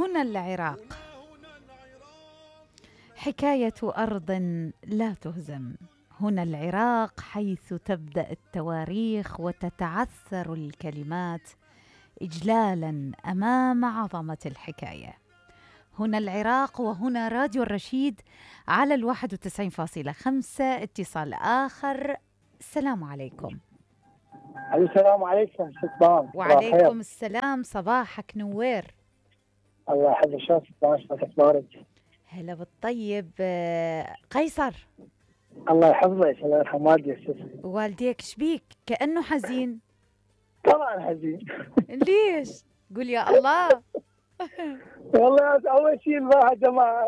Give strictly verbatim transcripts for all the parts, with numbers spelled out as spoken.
هنا العراق، حكاية أرض لا تهزم. هنا العراق حيث تبدأ التواريخ وتتعثر الكلمات إجلالا أمام عظمة الحكاية. هنا العراق وهنا راديو الرشيد على الواحد وتسعين فاصلة خمسة. اتصال آخر. السلام عليكم. السلام عليكم. وعليكم السلام، صباحك نوير. الله يحفظك. شلونك؟ اخبارك؟ هلا بالطيب. قيصر الله يحفظك. الله يرحم والديك. والديك شبيك؟ كأنه حزين. طبعا حزين. ليش؟ قول يا الله. والله اول شيء الواحد ما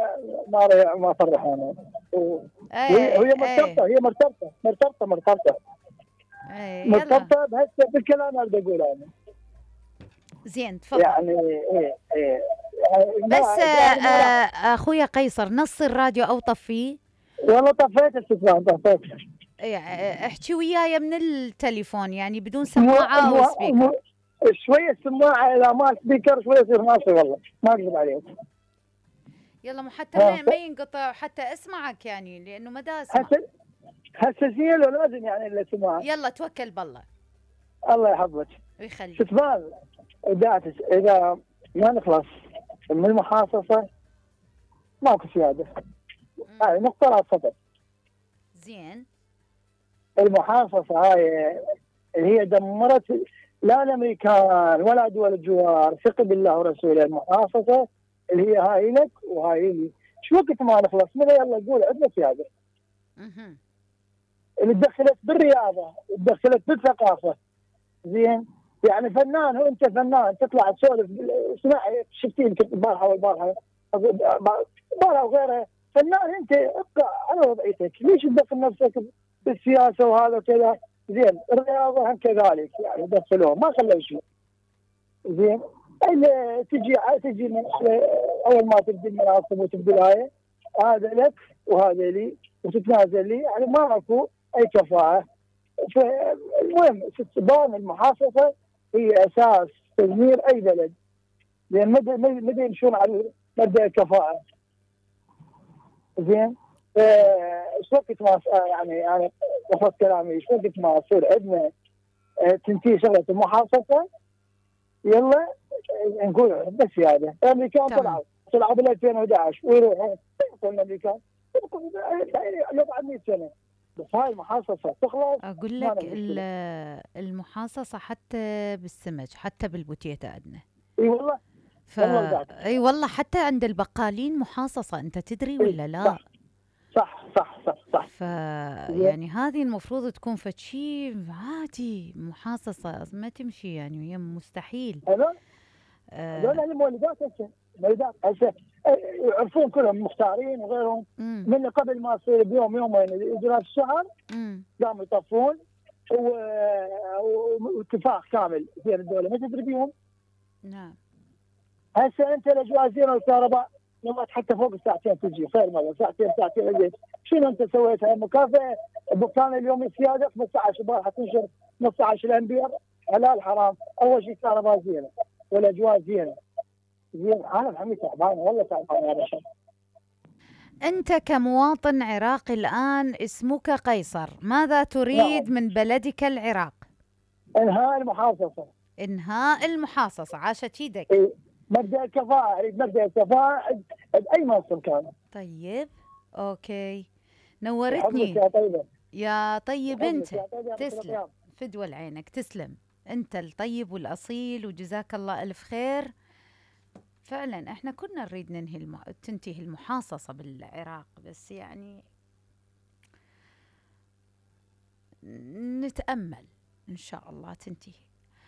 ما ما فرحانه. وهي هي مرتبطه هي مرتبطه مرتبطه مرتبطه مرتبطه بهسه بالكلام اللي بقوله انا. زين تفضل. يعني ايه ايه بس آه اخويا قيصر، نص الراديو او طفيه. والله طفيت التلفزيون طفيت. احكي وياي من التليفون يعني بدون سماعه او سبيكر. شويه السماعه اذا ما سبيكر شويه يصير ماشي. والله ما اكذب عليك. يلا مو حتى ما, ما ينقطع حتى اسمعك يعني، لانه ما دا اسمع. هسه هسه زين لازم يعني الا سماعه. يلا توكل بالله. الله يحفظك ويخليك. شتبان اذا اذا ما نخلص من المحاصصه ماكو سياده. هاي نقطه لا تفضل. زين. المحاصصه هاي اللي هي دمرت لا الامريكان ولا دول الجوار، ثق بالله ورسوله. المحاصصه اللي هي هاي لك وهاي لي، شو وقت ما نخلص منها يلا نقول عندنا سياده. اها. اللي دخلت بالرياضه ودخلت بالثقافه. زين؟ يعني فنان، هو انت فنان تطلع تسولف. اسمعي شفتي يمكن البارحه والبارحه البارحه وغيرها، فنان انت ابقى على وضعيتك، ليش تدخل نفسك بالسياسه وهذا كذا؟ زين، الرياضه هم كذلك يعني دخلوها ما خلوا شيء. زين؟ اللي تجي تجي من اول ما تبدي المناصب وتبدي الهاي، هذا لك وهذا لي وتتنازل لي، يعني ما اكو اي كفاءه. فالمهم استخدام المحاصصه هي اساس تدمير اي بلد، لان مدى مدى يمشون على مبدا الكفاءه. زين؟ ايش وقت ما يعني يعني وقت كلامي ايش وقت ما يصير عندنا تنتهي شغله المحاصصه يلا نقول بس هذا. الامريكان طلعوا طلعوا بال ألفين وأحد عشر ويروحون الامريكان يبقى بعد مئة سنه. بس هاي المحاصصه تخلص. اقول لك المحاصصه حتى بالسمك حتى بالبوتيتا عندنا. اي والله. ف... اي والله حتى عند البقالين محاصصه، انت تدري ولا لا؟ صح صح صح صح, صح. ف يعني هذه المفروض تكون فشي عادي. محاصصه ما تمشي يعني، هي مستحيل. هذول هذول آه المولدات هسه المولدات هسه يعرفون كلهم مختارين وغيرهم. مم. من قبل ما يصير بيوم يومين اجراء الشهر قاموا يطفون واتفاق كامل بين الدوله ما تدري بيهم. نعم. هسه انت الاجواء زينه والكهرباء يوم حتى فوق الساعتين تجي خير مره ساعتين ساعتين اجيت. شنو انت سويتها؟ مكافاه بكان اليوم السياده خمسة عشر البارحه تنشر خمسة عشر الانبياء حلال حرام. اول شيء كهرباء زينه والاجواء زينه. زين انا الحمد تعبان والله تعبان يا باشا. انت كمواطن عراقي الان اسمك قيصر، ماذا تريد نعم. من بلدك العراق؟ انهاء المحاصصه. انهاء المحاصصه. عاشت يدك. إيه. مبدا الكفاءه، اريد مبدا الكفاءه باي منصب كان. طيب اوكي نورتني يا طيبه. يا طيب انت تسلم فدوى عينك. تسلم انت الطيب والاصيل وجزاك الله الف خير. فعلا احنا كنا نريد ننهي الم... تنتهي المحاصصه بالعراق، بس يعني نتامل ان شاء الله تنتهي.